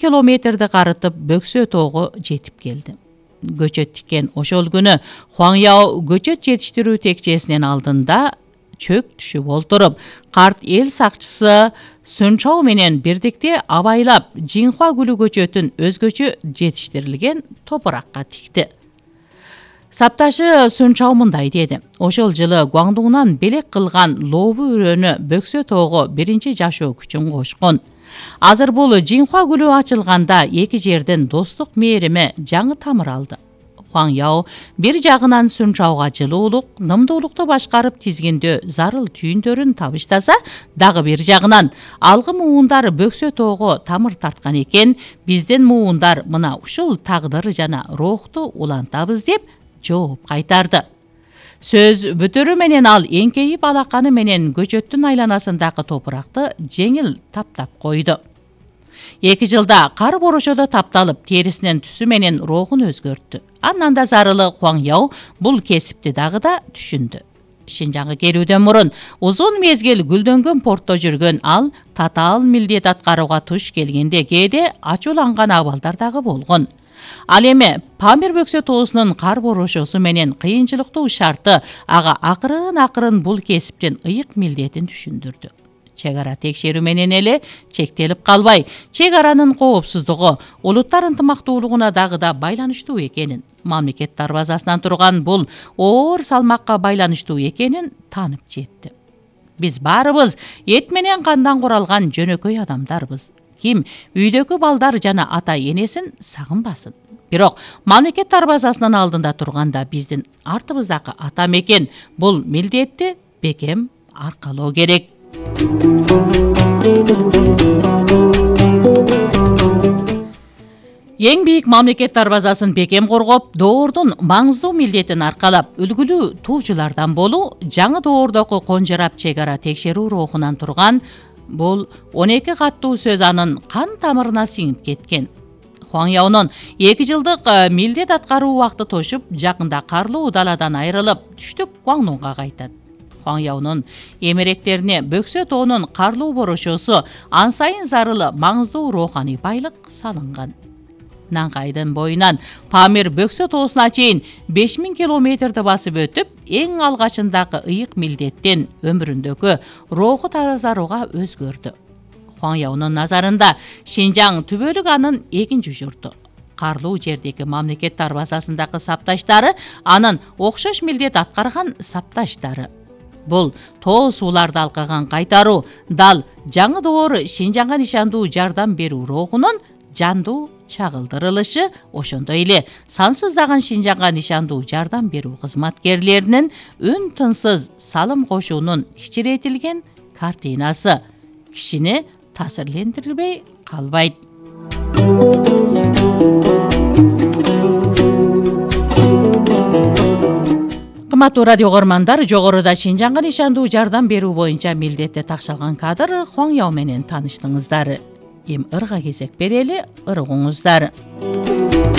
километрди карытып Бөксө тоого жетип келди. Көчөт тиккен ошол күнү Хуаңяо көчөт жетиштирүү текчесинин алдында чөк түшүп олтуруп, карт эл сакчысы Сүнчао менен бирдикте абайлап Жинхуа гүлү көчөтүн өзгөчө жетиштирилген топуракка тикти. Сапташы Сүнчао мындай деди: ошол жылы Гуаңдуңнан белек кылган лообу өрөөнү Бөксө тоого биринчи жашоо күчүн кошкон. Азыр бул Жинхуа гүлү ачылганда эки жердин достук мээрими жаңы тамыр алды. Хуаңяо бир жагынан Сүнчаога жылуулук, нымдуулукту башкарып тизгиндөө зарыл түйүндөрүн табыштаса, дагы бир жагынан алгы муундар Бөксө тоого тамыр тарткан экен, биздин муундар мына ушул тагдыр жана рухту улантабыз деп жооп кайтарды. Сөз бүтүрү менен ал эңкейип алаканы менен көчөттүн айланасындагы топуракты жеңил таптап койду. 2 жылда кар борошодо тапталып, терисинин түсү менен рухун өзгөрттү. Андан да зарылы Хуаңяо бул кесипти дагы да түшүндү. Шинжаңга келүүдөн мурун узун мезгил гүлдөнгөн портто жүргөн ал татаал милдет аткарууга туш келгенде кээде ачууланган абалдар дагы болгон. Ал эми Памир Бөксө тоосунун кар борошосу менен кыйынчылыктуу шарты ага акырын бул кесиптин ыйык милдетин түшүндүрдү. Чек ара текшерүү менен эле чектелип калбай, чек аранын коопсуздугу, улуттар ынтымактуулугуна дагы да байланыштуу экенин, мамлекет дарбазасынан турган бул оор салмакка байланыштуу экенин таанып жетти. Биз баарыбыз эт менен кандан куралган жөнөкөй адамдарбыз. Ким үйдөгү балдар жана ата энесин сагынбасын. Бирок мамлекет дарбазасынын алдында турганда биздин артыбыздагы ата мекен бул милдетти бекем аркалоо керек. Эң бийик мамлекет дарбазасын бекем коргоп, доордун маңыздуу милдетин аркалап, үлгүлүү туучулардан болуу, жаңы доордогу конжорап чек ара текшерүү рухунан турган бул 12 каттуу сөз анын кан тамырына сиңип кеткен. Хуаңяонун 2 жылдык милдет аткаруу убакыты тошуп, жакында карлуу даладан айрылып, түштүк Гуаңдуңга кайтат. Хуаңяонун эмеректерине Бөксө тоонун карлуу борошосу ан сайын зарылы маңыздуу руханий байлык салынган. Нанкайдын боюнан Памир Бөксө тоосуна чейин 5000 километрди басып өтүп, эң алгачындагы ыйык милдеттен өмүрүндөгү руху тазарууга өзгөрдү. Хуаңяонун назарында Шинжаң түбөлүк анын экинчи журту. Карлуу жердеги мамлекет дарбазасындагы сапташтары анын окшош милдет аткарган сапташтары. Бул тоо сууларды алкаган кайтаруу, дал жаңы доор Шинжаңга нишандуу жардам берүү рухунун жандуу чагылдырылышы, ошондой эле сансыздаган Шинжаңга нишандуу жардам берүү кызматкерлеринин үн тынсыз салым кошуунун кичирейтилген картинасы кишини таасирлендирбей калбайт. Кымбаттуу радио көрмандар, жогоруда Шинжаңга нишандуу жардам берүү боюнча милдетте такшалган кадр Хуаңяо менен тааныштыңыздар. Эми ырга кезек берели, ыргыңыздар.